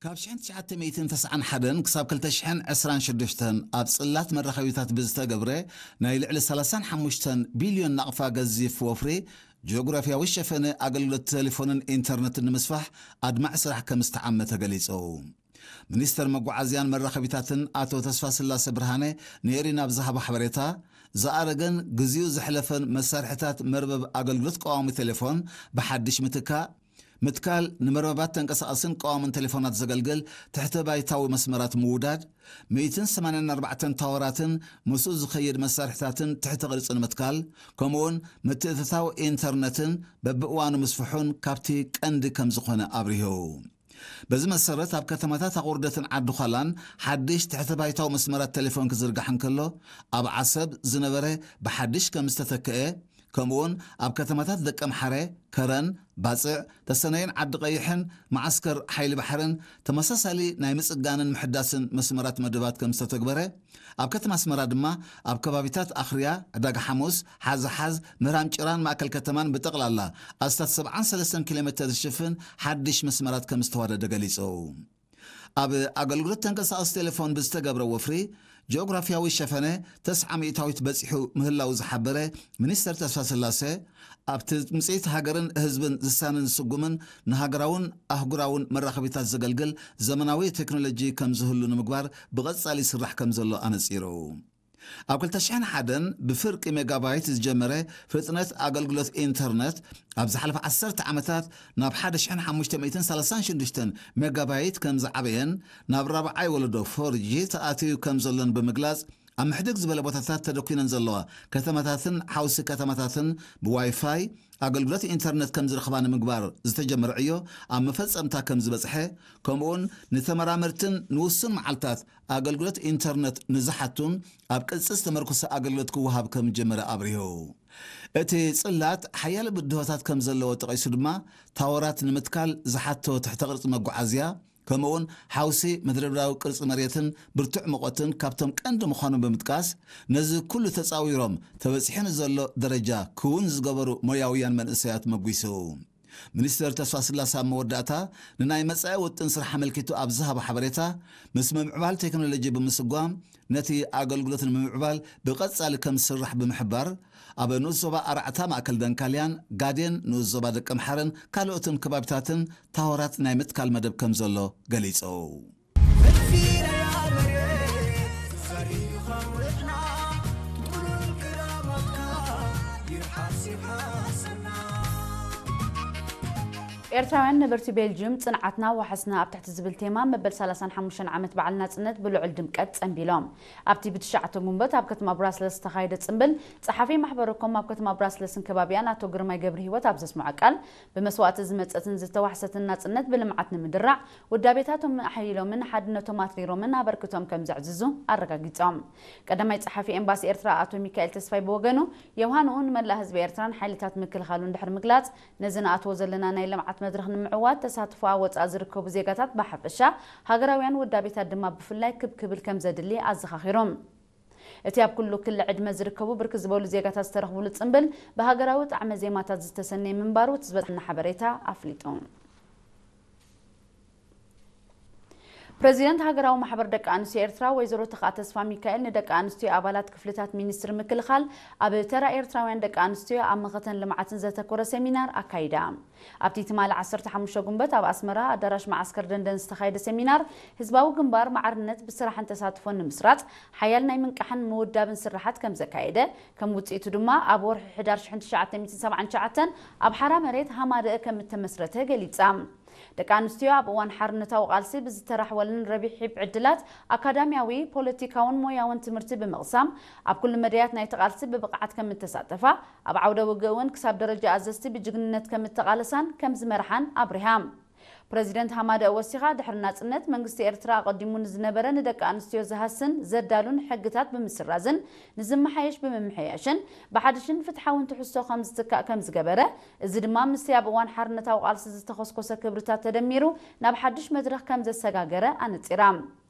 ካብ ሽሕን ትሽዓተ ሚእትን ተስዓን ሓደን ክሳብ ክልተ ሽሕን ዕስራን ሽዱሽተን ኣብ ጽላት መራኸቢታት ብዝተገብረ ናይ ልዕሊ ሰላሳን ሓሙሽተን ቢልዮን ናቕፋ ገዚፍ ወፍሪ፣ ጂኦግራፍያዊ ሸፈነ ኣገልግሎት ቴሌፎንን ኢንተርነትን ንምስፋሕ ኣድማዒ ስራሕ ከም ዝተዓመ ተገሊጹ። ሚኒስተር መጓዓዝያን መራኸቢታትን ኣቶ ተስፋስላሰ ብርሃነ ንኤሪና ኣብ ዝሃቦ ሓበሬታ፣ ዝኣረገን ግዜኡ ዘሕለፈን መሳርሒታት መርበብ ኣገልግሎት ቀዋሚ ቴሌፎን ብሓድሽ ምትካእ፣ ምትካል፣ ንመርበባት ተንቀሳቐስን ቀዋምን ቴሌፎናት ዘገልግል ትሕተ ባይታዊ መስመራት ምውዳድ፣ ሚእትን ሰማንያን ኣርባዕተን ታወራትን ምስኡ ዝኸይድ መሳርሒታትን ትሕተ ቅርጺ ንምትካል፣ ከምኡውን ምትእትታው ኢንተርነትን በብእዋኑ ምስፍሑን ካብቲ ቀንዲ ከም ዝኾነ ኣብሪሁ። በዚ መሰረት ኣብ ከተማታት ኣቑርደትን ዓዲ ዃላን ሓድሽ ትሕተ ባይታዊ መስመራት ቴሌፎን ክዝርጋሕ እንከሎ፣ ኣብ ዓሰብ ዝነበረ ብሓድሽ ከም ዝተተክአ፣ ከምኡውን ኣብ ከተማታት ደቀምሓረ፣ ከረን፣ ባጽዕ፣ ተሰነይን ዓዲ ቀይሕን መዓስከር ሓይሊ ባሕርን ተመሳሳሊ ናይ ምጽጋንን ምሕዳስን መስመራት መደባት ከም ዝተተግበረ፣ ኣብ ከተማ ኣስመራ ድማ ኣብ ከባቢታት ኣኽርያ፣ ዕዳጋ ሓሙስ፣ ሓዝሓዝ፣ ምህራም ጭራን ማእከል ከተማን ብጠቕላላ ኣስታት ሰብዓን ሰለስተን ኪሎ ሜተር ዝሽፍን ሓድሽ መስመራት ከም ዝተዋደደ ገሊጹ። ኣብ ኣገልግሎት ተንቀሳቐሲ ቴሌፎን ብዝተገብረ ወፍሪ፣ ጂኦግራፍያዊ ሸፈነ ተስዓ ሚእታዊት በጺሑ ምህላው ዝሓበረ ሚኒስተር ተስፋስላሰ፣ ኣብቲ ትምጽኢት ሃገርን ህዝብን ዝሳንን ዝስጉምን ንሃገራውን ኣህጉራውን መራኸቢታት ዘገልግል ዘመናዊ ቴክኖሎጂ ከም ዝህሉ ንምግባር ብቐጻሊ ይስራሕ ከም ዘሎ ኣነጺሩ። ኣብ ክልተ ሽሕን ሓደን ብፍርቂ ሜጋባይት ዝጀመረ ፍጥነት ኣገልግሎት ኢንተርነት፣ ኣብ ዝሓለፈ ዓሰርተ ዓመታት ናብ ሓደ ሽሕን ሓሙሽተ ሚእትን ሰላሳን ሽዱሽተን ሜጋባይት ከም ዝዓበየን ናብ ራብዓይ ወለዶ ፎር ጂ ተኣትዩ ከም ዘሎን ብምግላጽ፣ ኣብ ምሕድግ ዝበለ ቦታታት ተደኲነን ዘለዋ ከተማታትን ሓውሲ ከተማታትን ብዋይፋይ ኣገልግሎት ኢንተርነት ከም ዝረኽባ ንምግባር ዝተጀመረ ዕዮ ኣብ መፈጸምታ ከም ዝበጽሐ፣ ከምኡውን ንተመራመርትን ንውሱን መዓልታት ኣገልግሎት ኢንተርነት ንዝሓቱን ኣብ ቅጽ ዝተመርኮሰ ኣገልግሎት ክወሃብ ከም ዝጀመረ ኣብሪሁ። እቲ ጽላት ሓያለ ብድሆታት ከም ዘለዎ ጠቒሱ ድማ፣ ታወራት ንምትካል ዝሓቶ ትሕተ ቅርጺ መጓዓዝያ፣ ከምኡውን ሓውሲ መድረብራዊ ቅርጺ መሬትን ብርቱዕ ሙቐትን ካብቶም ቀንዲ ምዃኖም ብምጥቃስ፣ ነዚ ኩሉ ተጻዊሮም ተበጺሑ ንዘሎ ደረጃ ክውን ዝገበሩ ሞያውያን መንእሰያት መጒሱ። ሚኒስተር ተስፋስላሰ ኣብ መወዳእታ፣ ንናይ መጻኢ ውጥን ስራሕ ኣመልኪቱ ኣብ ዝሃቦ ሓበሬታ፣ ምስ ምምዕባል ቴክኖሎጂ ብምስጓም፣ ነቲ ኣገልግሎት ንምምዕባል ብቐጻሊ ከም ዝስራሕ ብምሕባር፣ ኣብ ንኡስ ዞባ ኣርዓታ ማእከል ደንካልያን ጋዴን ንኡስ ዞባ ደቀምሓረን ካልኦትን ከባቢታትን ታወራት ናይ ምትካል መደብ ከም ዘሎ ገሊጹ። ኤርትራውያን ነበርቲ ቤልጅዩም፣ ጽንዓትና ዋሕስና ኣብ ትሕቲ ዝብል ቴማ መበል ሰላሳን ሓሙሽተን ዓመት በዓል ናጽነት ብልዑል ድምቀት ጸንቢሎም። ኣብቲ ብትሽዓተ ጉንበት ኣብ ከተማ ብራስለስ ዝተኻየደ ጽምብል፣ ጸሓፊ ማሕበረ ኮም ኣብ ከተማ ብራስለስን ከባቢኣን ኣቶ ግርማይ ገብረሂወት ኣብ ዘስምዖ ቃል፣ ብመስዋእቲ ዝመጸትን ዝተዋሕሰትን ናጽነት ብልምዓት ንምድራዕ፣ ውዳቤታቶም ኣሐይሎምን ሓድነቶም ኣትሪሮምን ኣበርክቶም ከም ዘዕዝዙ ኣረጋጊጾም። ቀዳማይ ጸሓፊ ኤምባሲ ኤርትራ ኣቶ ሚካኤል ተስፋይ ብወገኑ፣ የውሃንኡ ንመላእ ህዝቢ ኤርትራን ሓይልታት ምክልኻሉን ድሕሪ ምግላጽ፣ ነዚ ንኣትዎ ዘለና ናይ ልምዓት መድረኽ ንምዕዋት ተሳትፎ ኣብ ወጻኢ ዝርከቡ ዜጋታት ብሓፈሻ፣ ሃገራውያን ውዳቤታት ድማ ብፍላይ ክብ ክብል ከም ዘድሊ ኣዘኻኺሩ። እቲ ኣብ ኩሉ ክሊ ዕድመ ዝርከቡ ብርክት ዝበሉ ዜጋታት ዝተረኽብሉ ጽምብል፣ ብሃገራዊ ጣዕመ ዜማታት ዝተሰነየ ምንባሩ እቲ ዝበጽሐና ሓበሬታ ኣፍሊጡ። ፕረዚደንት ሃገራዊ ማሕበር ደቂ ኣንስትዮ ኤርትራ ወይዘሮ ተኽኣ ተስፋ ሚካኤል ንደቂ ኣንስትዮ ኣባላት ክፍልታት ሚኒስትሪ ምክልኻል ኣብ ተራ ኤርትራውያን ደቂ ኣንስትዮ ኣብ መኸተን ልምዓትን ዘተኮረ ሰሚናር ኣካይዳ። ኣብቲ ትማሊ ዓሰርተ ሓሙሽተ ጉንበት ኣብ ኣስመራ ኣዳራሽ መዓስከር ደንደን ዝተኻየደ ሰሚናር፣ ህዝባዊ ግንባር ማዕርነት ብስራሕን ተሳትፎን ንምስራጽ ሓያል ናይ ምንቃሕን ምውዳብን ስራሓት ከም ዘካየደ፣ ከም ውጽኢቱ ድማ ኣብ ወርሒ ሕዳር ሽሕን ትሽዓተ ሚእትን ሰብዓን ትሽዓተን ኣብ ሓራ መሬት ሃማደአ ከም እተመስረተ ገሊጻ። ደቂ ኣንስትዮ ኣብ እዋን ሓርነታዊ ቃልሲ ብዝተራሕወለን ረቢሒብ ዕድላት ኣካዳሚያዊ፣ ፖለቲካውን ሞያውን ትምህርቲ ብምቕሳም ኣብ ኩሉ መዳያት ናይቲ ቃልሲ ብብቕዓት ከም እተሳተፋ፣ ኣብ ዓውደ ውግእ እውን ክሳብ ደረጃ ኣዘዝቲ ብጅግንነት ከም እተቓለሳን ከም ዝመርሓን ኣብሪሃ። ፕረዚደንት ሃማደአ ወሲኻ፣ ድሕሪ ናጽነት መንግስቲ ኤርትራ ኣቐዲሙ ንዝነበረ ንደቂ ኣንስትዮ ዝሃስን ዘዳሉን ሕግታት ብምስራዝን ንዝመሓየሽ ብምምሕያሽን ብሓድሽን ፍትሓውን ትሕዝቶ ከም ዝትካእ ከም ዝገበረ፣ እዚ ድማ ምስቲ ኣብ እዋን ሓርነታዊ ቃልሲ ዝተኾስኮሰ ክብርታት ተደሚሩ ናብ ሓድሽ መድረኽ ከም ዘሰጋገረ ኣነጺራ።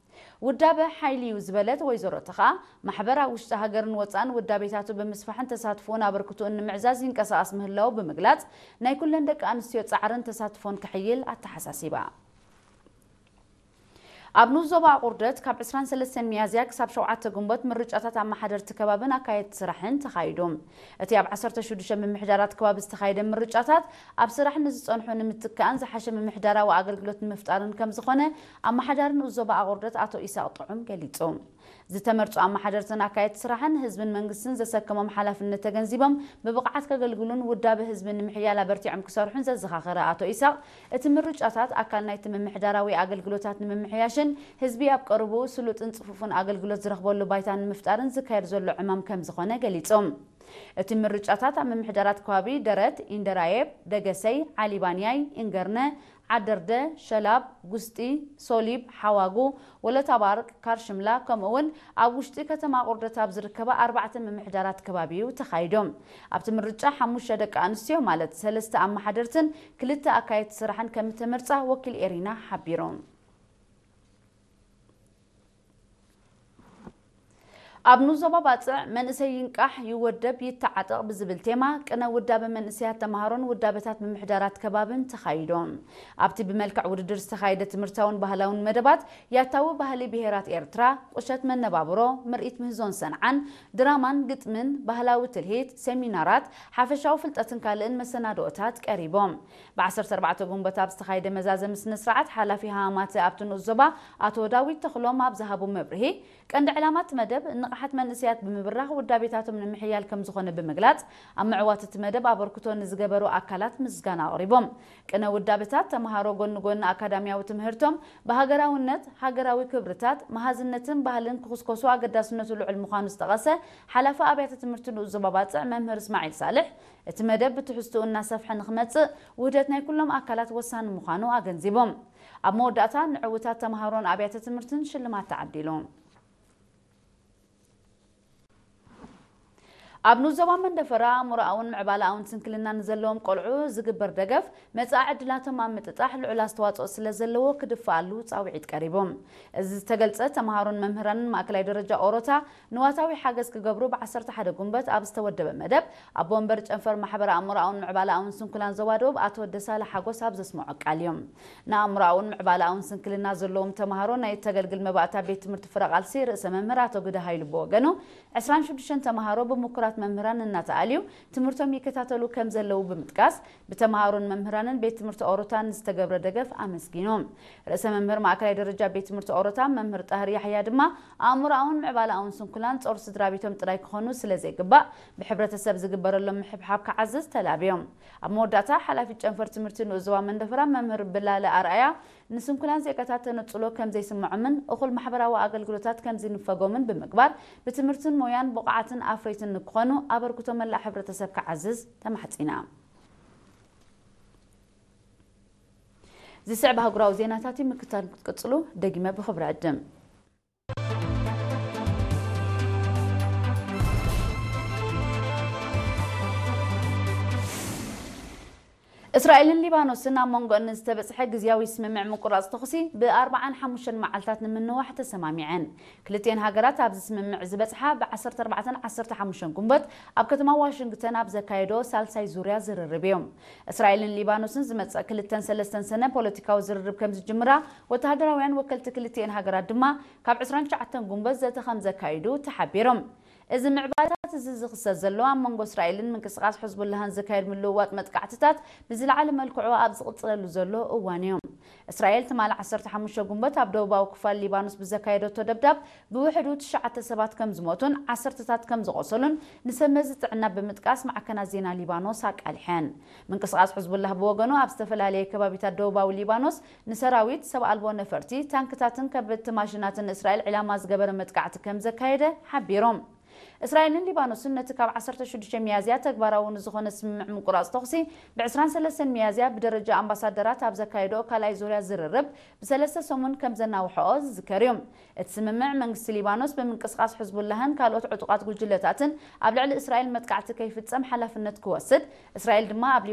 ውዳበ ሓይሊ እዩ ዝበለት ወይዘሮ ተኽኣ፣ ማሕበር ኣብ ውሽጢ ሃገርን ወጻእን ውዳቤታቱ ብምስፋሕን ተሳትፎኡን ኣበርክቶኡን ንምዕዛዝ ይንቀሳቐስ ምህላዉ ብምግላጽ፣ ናይ ኩለን ደቂ ኣንስትዮ ጻዕርን ተሳትፎን ክሕይል ኣተሓሳሲባ። ኣብ ንኡስ ዞባ ኣቑርደት ካብ ዕስራን ሰለስተን ሚያዝያ ክሳብ ሸውዓተ ግንቦት ምርጫታት ኣመሓደርቲ ከባብን ኣካየድቲ ስራሕን ተኻይዱ። እቲ ኣብ ዓሰርተ ሽዱሽተ ምምሕዳራት ከባቢ ዝተኻየደ ምርጫታት ኣብ ስራሕ ንዝጸንሑ ንምትካእን ዝሓሸ ምምሕዳራዊ ኣገልግሎት ንምፍጣርን ከም ዝኾነ ኣመሓዳሪ ንኡስ ዞባ ኣቑርደት ኣቶ ኢሳቕ ጥዑም ገሊጹ። ዝተመርጹ ኣመሓደርትን ኣካየድቲ ስራሕን ህዝብን መንግስትን ዘሰከሞም ሓላፍነት ተገንዚቦም ብብቕዓት ከገልግሉን ውዳበ ህዝቢ ንምሕያል ኣበርቲዖም ክሰርሑን ዘዘኻኸረ ኣቶ ኢሳቕ፣ እቲ ምርጫታት ኣካል ናይቲ ምምሕዳራዊ ኣገልግሎታት ንምምሕያሽን ህዝቢ ኣብ ቀረብኡ ስሉጥን ጽፉፍን ኣገልግሎት ዝረኽበሉ ባይታ ንምፍጣርን ዝካየድ ዘሎ ዕማም ከም ዝኾነ ገሊጹ። እቲ ምርጫታት ኣብ ምምሕዳራት ከባቢ ደረት፣ ኢንደራየብ፣ ደገሰይ፣ ዓሊባንያይ፣ ኢንገርነ፣ ዓደርደ፣ ሸላብ፣ ጉስጢ፣ ሶሊብ፣ ሓዋጉ፣ ወለታባርቅ፣ ካርሽምላ፣ ከምኡ እውን ኣብ ውሽጢ ከተማ ቁርደት ኣብ ዝርከባ ኣርባዕተ ምምሕዳራት ከባቢ እዩ ተኻይዱ። ኣብቲ ምርጫ ሓሙሽተ ደቂ ኣንስትዮ ማለት ሰለስተ ኣመሓደርትን ክልተ ኣካየድቲ ስራሕን ከም እተመርጻ ወኪል ኤሪና ሓቢሩ። ኣብ ንኡስ ዞባ ባጽዕ መንእሰይ ይንቃሕ፣ ይወደብ፣ ይተዓጠቕ ብዝብል ቴማ ቅነ ውዳበ መንእሰያት ተምሃሮን ውዳበታት ምምሕዳራት ከባብን ተኻይዱ። ኣብቲ ብመልክዕ ውድድር ዝተኻየደ ትምህርታውን ባህላውን መደባት ያታዊ ባህሊ ብሄራት ኤርትራ፣ ቁሸት መነባብሮ፣ ምርኢት ምህዞን ሰንዓን፣ ድራማን ግጥምን፣ ባህላዊ ትልሂት፣ ሴሚናራት፣ ሓፈሻዊ ፍልጠትን ካልእን መሰናድኦታት ቀሪቦም። ብ ዓሰርተ ኣርባዕተ ግንቦት ኣብ ዝተኻየደ መዛዘሚ ስነ ስርዓት ሓላፊ ሃማማተ ኣብቲ ንኡስ ዞባ ኣቶ ዳዊት ተኽሎም ኣብ ዝሃቡ መብርሂ፣ ቀንዲ ዕላማ እቲ መደብ ንቕሓት መንእሰያት ብምብራኽ ውዳቤታቶም ንምሕያል ከም ዝኾነ ብምግላጽ፣ ኣብ ምዕዋት እቲ መደብ ኣበርክቶ ንዝገበሩ ኣካላት ምስጋና ኣቕሪቦም። ቅነ ውዳበታት ተምሃሮ ጎኒ ጎኒ ኣካዳሚያዊ ትምህርቶም ብሃገራውነት፣ ሃገራዊ ክብርታት፣ መሃዝነትን ባህልን ክኹስኮሱ ኣገዳስነቱ ልዑል ምዃኑ ዝጠቐሰ ሓላፊ ኣብያተ ትምህርቲ ንኡስ ዞባ ባጽዕ መምህር እስማዒል ሳልሕ፣ እቲ መደብ ብትሕዝትኡ እናሰፍሐ ንኽመጽእ ውህደት ናይ ኩሎም ኣካላት ወሳኒ ምዃኑ ኣገንዚቦም። ኣብ መወዳእታ ንዕውታት ተምሃሮን ኣብያተ ትምህርትን ሽልማት ተዓዲሉ። ኣብ ንኡስ ዞባ መንደፈራ ኣእምሮኣውን ምዕባለኣውን ስንክልና ንዘለዎም ቆልዑ ዝግበር ደገፍ መጻኢ ዕድላቶም ኣብ ምጥጣሕ ልዑል ኣስተዋጽኦ ስለ ዘለዎ ክድፈኣሉ ጻውዒት ቀሪቡ። እዚ ዝተገልጸ ተምሃሮን መምህራንን ማእከላይ ደረጃ ኦሮታ ንዋታዊ ሓገዝ ክገብሩ ብ ዓሰርተ ሓደ ጉንበት ኣብ ዝተወደበ መደብ ኣቦ ወንበር ጨንፈር ማሕበረ ኣእምሮኣውን ምዕባለኣውን ስንኩላን ዞባ ደቡብ ኣቶ ደሳለ ሓጎስ ኣብ ዘስምዖ ቃል እዮም። ንኣእምሮኣውን ምዕባለኣውን ስንክልና ዘለዎም ተምሃሮ ናይ ተገልግል መባእታ ቤት ትምህርቲ ፍረ ቃልሲ ርእሰ መምህር ኣቶ ግደ ሃይሉ ብወገኑ ዕስራን ሽዱሽተን ተምሃሮ ብምኩራት መምህራን እናተኣልዩ ትምህርቶም ይከታተሉ ከም ዘለዉ ብምጥቃስ፣ ብተምሃሮን መምህራንን ቤት ትምህርቲ ኦሮታን ዝተገብረ ደገፍ ኣመስጊኑ። ርእሰ መምህር ማእከላይ ደረጃ ቤት ትምህርቲ ኦሮታ መምህር ጣህር ያሕያ ድማ ኣእምሮኣውን ምዕባለኣውን ስንኩላን ጾር ስድራ ቤቶም ጥራይ ክኾኑ ስለ ዘይግባእ ብሕብረተሰብ ዝግበረሎም ምሕብሓብ ክዓዝዝ ተላብዮም። ኣብ መወዳእታ ሓላፊት ጨንፈር ትምህርቲ ንኡስ ዞባ መንደፈራ መምህር ብላለ ኣርኣያ ንስንኩላን ዜጋታት ተነጽሎ ከም ዘይስምዖምን እኹል ማሕበራዊ ኣገልግሎታት ከም ዝንፈጎምን ብምግባር ብትምህርትን ሞያን ብቑዓትን ኣፍረይትን ንክኾኑ ኣበርክቶ መላእ ሕብረተሰብ ክዓዝዝ ተማሕጺና። ዝስዕብ ኣህጉራዊ ዜናታት እዩ። ምክታል ክትቅጽሉ ደጊመ ብኽብሪ ዕድም። እስራኤልን ሊባኖስን ኣብ መንጎ ንዝተበጽሐ ግዝያዊ ስምምዕ ምቁራጽ ተኹሲ ብኣርባዓን ሓሙሽተን መዓልታት ንምንዋሕ ተሰማሚዐን። ክልቲኤን ሃገራት ኣብዚ ስምምዕ ዝበጽሓ ብ ዓሰርተ ኣርባዕተን ዓሰርተ ሓሙሽተን ጉንበት ኣብ ከተማ ዋሽንግተን ኣብ ዘካየዶ ሳልሳይ ዙርያ ዝርርብ እዮም። እስራኤልን ሊባኖስን ዝመጽእ ክልተን ሰለስተን ሰነ ፖለቲካዊ ዝርርብ ከም ዝጅምራ፣ ወተሃደራውያን ወከልቲ ክልቲኤን ሃገራት ድማ ካብ ዕስራን ትሽዓተን ጉንበት ዘተ ከም ዘካይዱ ተሓቢሮም። እዚ ምዕባለታት እዚ ዝኽሰት ዘሎ ኣብ መንጎ እስራኤልን ምንቅስቓስ ሕዝቡላህን ዝካየድ ምልውዋጥ መጥቃዕትታት ብዝለዓለ መልክዑ ኣብ ዝቕጽለሉ ዘሎ እዋን እዩ። እስራኤል ትማሊ ዓሰርተ ሓሙሽተ ጉንበት ኣብ ደቡባዊ ክፋል ሊባኖስ ብዘካየደቶ ደብዳብ ብውሕዱ ትሽዓተ ሰባት ከም ዝሞቱን ዓሰርተታት ከም ዝቖሰሉን ንሰብ መዚ ጥዕና ብምጥቃስ ማዕከናት ዜና ሊባኖስ ኣቃሊሐን። ምንቅስቓስ ሕዝቡላህ ብወገኑ ኣብ ዝተፈላለየ ከባቢታት ደቡባዊ ሊባኖስ ንሰራዊት፣ ሰብ ኣልቦ ነፈርቲ፣ ታንክታትን ከበድቲ ማሽናትን እስራኤል ዕላማ ዝገበረ መጥቃዕቲ ከም ዘካየደ ሓቢሮም። እስራኤልን ሊባኖስን ነቲ ካብ ዓሰርተ ሽዱሽተ ሚያዝያ ተግባራዊ ንዝኾነ ስምምዕ ምቁራጽ ተኹሲ ብ ዕስራን ሰለስተን ሚያዝያ ብደረጃ ኣምባሳደራት ኣብ ዘካየድኦ ካልኣይ ዙርያ ዝርርብ ብሰለስተ ሰሙን ከም ዘናውሐኦ ዝዝከር እዩ። እቲ ስምምዕ መንግስቲ ሊባኖስ ብምንቅስቓስ ሕዝቡላህን ካልኦት ዕጡቓት ጉጅለታትን ኣብ ልዕሊ እስራኤል መጥቃዕቲ ከይፍጸም ሓላፍነት ክወስድ፣ እስራኤል ድማ ኣብ